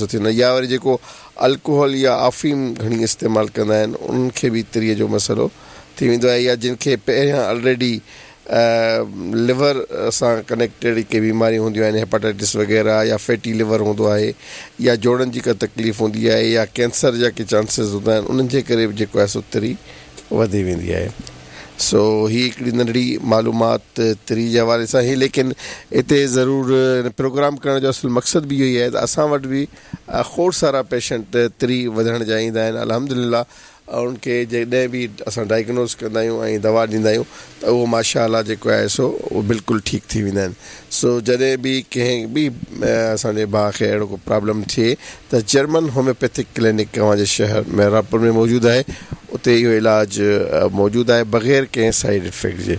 سو ٿيندو آهي يا وري جيڪو الڪوهل يا آفيم گهڻي استعمال ڪندا آهن انهن کي به تريء جو مسئلو ٿي ويندو آهي يا جن کي پهريان الريڊي ليور سان ڪنيڪٽيڊ ڪي بيماريون هونديون آهن هيپاٽائٽس وغيره يا فيٽي ليور هوندو آهي يا جوڙن جي ڪا تڪليف هوندي آهي يا ڪينسر جا ڪي چانسز هوندا آهن انهن جي ڪري به جيڪو آهي سو تري وڌي ويندي آهي سو هي هڪڙي ننڍڙي معلومات تري جي حوالي سان هئي ليڪن هتي ضرور پروگرام ڪرڻ جو اصل مقصد به اهو ئي آهي ته اسان وٽ به کوڙ سارا پيشنٽ تري وڌڻ جا ايندا آهن الحمدلله انهن کي جڏهن به اسان ڊائگنوز ڪندا آهيون ۽ دوا ڏيندا آهيون ته اهو ماشاء الله جيڪو آهي سو اهو بلڪل ٺيڪ ٿي ويندا آهن سو جڏهن به ڪنهن به اسان جي ڀاء کي اهڙو ڪو پرابلم ٿئي ته جرمن هوميوپيٿڪ ڪلينڪ اوهان جي شهر محرابپور ۾ موجود آهي اتي اهو علاج موجود آهي بغير ڪنهن سائيڊ افيڪٽ جي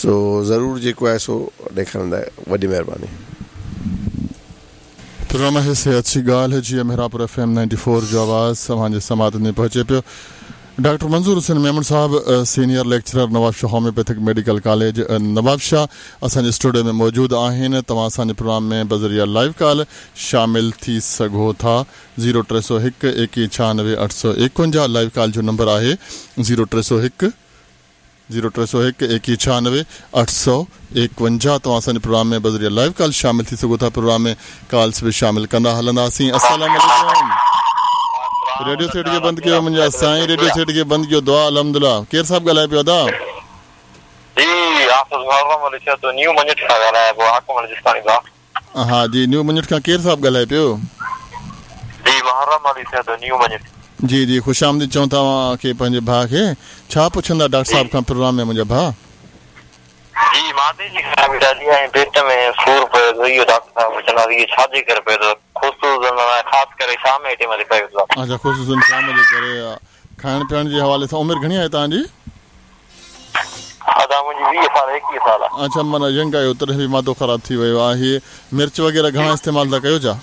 سو ضرور جيڪو آهي سو ڏيکاريندا وڏي مهرباني. پروگرام آهي صحت جي ڳالهه جي Mehrabpur F M ninety four جو آواز اوهان جي سماعتن تائين پهچي پيو ڊاڪٽر منظور حسين ميمڻ صاحب senior lecturer Nawabshah homeopathic medical college Nawabshah اسان جي اسٽوڊيو ۾ موجود آهن توهان اسان جي پروگرام ۾ بذريعه لائيو ڪال شامل ٿي سگهو ٿا زيرو 301 21 96 851 لائيو ڪال جو نمبر آهي زيرو 301 زيرو 301 21 96 851 توهان اسان جي پروگرام ۾ بذريعه لائيو ڪال شامل ٿي سگهو ٿا پروگرام ۾ ڪالس به شامل ڪندا هلنداسين السلام عليڪم ريڊيو سيٽ کي بند ڪيو منهنجا سائين ريڊيو سيٽ کي بند ڪيو دعا الحمدلله ڪير صاحب ڳالهائي پيو ادا. جي حافظ محرم علي سهتو نيو مڃٺ کان ڳالهايان پيو حاڪم علي جسڪاڻي ڀاء. ها جي نيو مڃٺ کان ڪير صاحب ڳالهائي پيو. جي محرم علي سهتو نيو مڃٺ. جي جي خوش آمديد چئون ٿا اوهان کي پنهنجي ڀاء کي ڇا پڇندا ڊاڪٽر صاحب کان پروگرام ۾ منهنجا ڀاء. جي معدي جي خرابي ڏاڍي آهي ۽ پيٽ ۾ سور پئي ٿو اهو ڊاڪٽر صاحب پڇنداسين اهو ڇا جي ڪري پئي ٿو خصوصن خاص ڪري شام جي ٽيم تي پئي ٿو. اڇا خصوصن شام جي ڪري کائڻ پيئڻ جي حوالي سان عمر گهڻي آهي توهان جي. ادا منهنجي 20 سال 21 سال آ. اڇا معنيٰ ينگ آهيو تڏهن به معدو خراب ٿي ويو آهي مرچ وغيره گهڻا استعمال ٿا ڪيو ڇا؟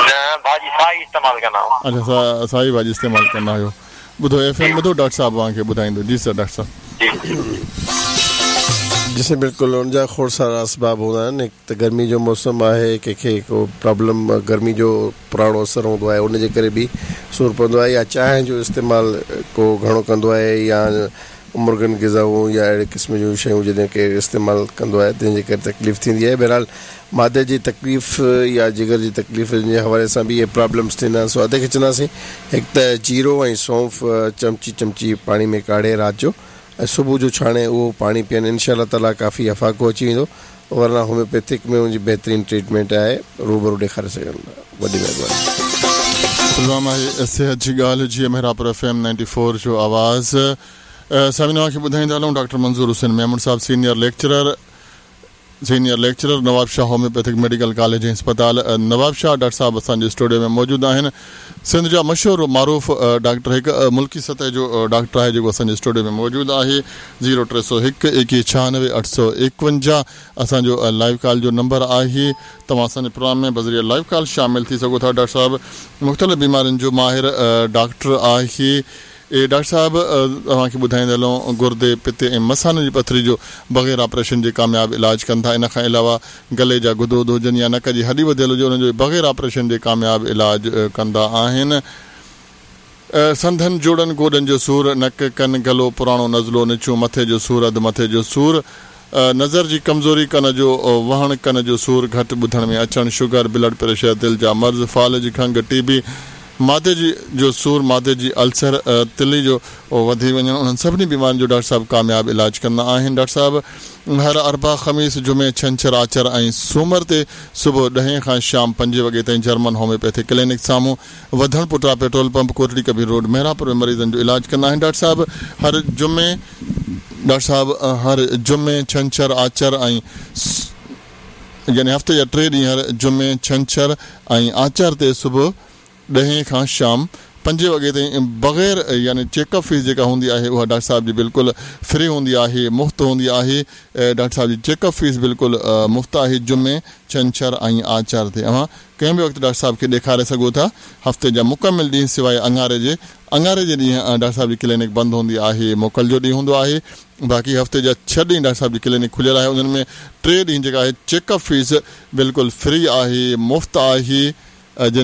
نه ڀاڄي سائي استعمال ڪندا آهيون. اڇا سائي ڀاڄي استعمال ڪندا آهيو ٻڌو ايف ايم ٻڌو ڊاڪٽر صاحب اوهان کي ٻڌائيندو جي سر ڊاڪٽر صاحب. جي. جي سائين بلڪل ان جا کوڙ سارا اسباب هوندا آهن هڪ ته گرمي جو موسم آهي ڪنهن کي ڪو پرابلم گرمي جو پراڻو اثر هوندو آهي ان جي ڪري به سور پوندو آهي يا چانهه جو استعمال ڪو گهڻو ڪندو آهي يا مرغن غذائون يا اهڙي قسم جون شيون جڏهن ڪير استعمال ڪندو آهي تنهن جي ڪري تڪليف ٿيندي آهي بهرحال معدي جي تڪليف يا جگر جي تڪليف جي حوالي سان به اهي پرابلمس ٿيندا آهن سو ادي کي چونداسين هڪ ته جيرو ۽ سونف چمچي چمچي پاڻي ۾ ڪاڙهي رات جو ۽ صبح جو ڇاڻي اهو پاڻي پيئن انشاء الله تعالي ڪافي افاقو اچي ويندو ورنه هوميوپيٿڪ ۾ ان جي بهترين ٽريٽمينٽ آهي روبرو ڏيکاري سگهن ٿا وڏي مهرباني. پروگرام آهي صحت جي ڳالهه جي Mehrabpur F M ninety four جو آواز سامعين اوهان کي ٻڌائيندا هلون ڊاڪٽر منظور حسين ميمڻ صاحب senior lecturer senior lecturer Nawabshah homeopathic medical college ۽ اسپتال نوابشاهه ڊاڪٽر صاحب اسان جي اسٽوڊيو ۾ موجود آهن سنڌ جا مشهور و معروف ڊاڪٽر هڪ ملڪي سطح جو ڊاڪٽر آهي جيڪو اسان جي اسٽوڊيو ۾ موجود آهي زيرو 301 21 96 851 اسان جو لائيو ڪال جو نمبر آهي توهان اسان جي پروگرام ۾ بذريعه لائيو ڪال شامل ٿي سگهو ٿا ڊاڪٽر صاحب مختلف بيمارين جو ماهر ڊاڪٽر آهي اي ڊاڪٽر صاحب اوهان کي ٻڌائيندا هلون گردي، پتي ۽ مثاني جي پٿري جو بغير آپريشن جي ڪامياب علاج ڪن ٿا ان کان علاوه گلي جا غدود هجن يا نڪ جي هڏي وڌيل هجي انهن جو به بغير آپريشن جي ڪامياب علاج ڪندا آهن. سنڌن، جوڙن، گوڏن جو سور، نڪ، ڪن، گلو، پراڻو نزلو، نڇون، مٿي جو سور، اڌ مٿي جو سور، نظر جي ڪمزوري، ڪن جو وهڻ، ڪن جو سور، گهٽ ٻڌڻ ۾ اچڻ، شگر، بلڊ پريشر، دل جا مرض، فالج، کنگهه، ٽي بي، معدي جي جو سور، معدي جي السر، تلي جو وڌي وڃڻ، انهن سڀني بيمارين جو ڊاڪٽر صاحب ڪامياب علاج ڪندا آهن. ڊاڪٽر صاحب هر اربع، خميس، جمعي، ڇنڇر، آچر ۽ سومر تي صبح ڏهين کان شام پنجين وڳي تائين جرمن هوميوپيٿڪ ڪلينڪ سامهون وڌڻ پٽرا petrol pump Kotri Kabir road Mehrabpur ۾ مريضن جو علاج ڪندا آهن. ڊاڪٽر صاحب هر جمعي ڊاڪٽر صاحب هر جمعي، ڇنڇر، آچر ۽ يعني هفتي جا ٽي ڏينهن هر جمعي، ڇنڇر ۽ آچر تي صبح ڏهين کان شام پنجين وڳي تائين بغير يعني چيڪ اپ فيس جيڪا هوندي آهي اها ڊاڪٽر صاحب جي بلڪل فري هوندي آهي مفت هوندي آهي ڊاڪٽر صاحب جي چيڪ اپ فيس بلڪل مفت آهي جمعي، ڇنڇر ۽ آچر تي اوهان ڪنهن به وقت ڊاڪٽر صاحب کي ڏيکاري سگهو ٿا. هفتي جا مڪمل ڏينهن سواء اڱاري جي. اڱاري جي ڏينهن ڊاڪٽر صاحب جي ڪلينڪ بند هوندي آهي، موڪل جو ڏينهن هوندو آهي. باقي هفتي جا ڇهه ڏينهن ڊاڪٽر صاحب جي ڪلينڪ کليل آهي. انهن ۾ ٽي ڏينهن جيڪا آهي چيڪ اپ فيس بلڪل فري آهي، مفت آهي. جن.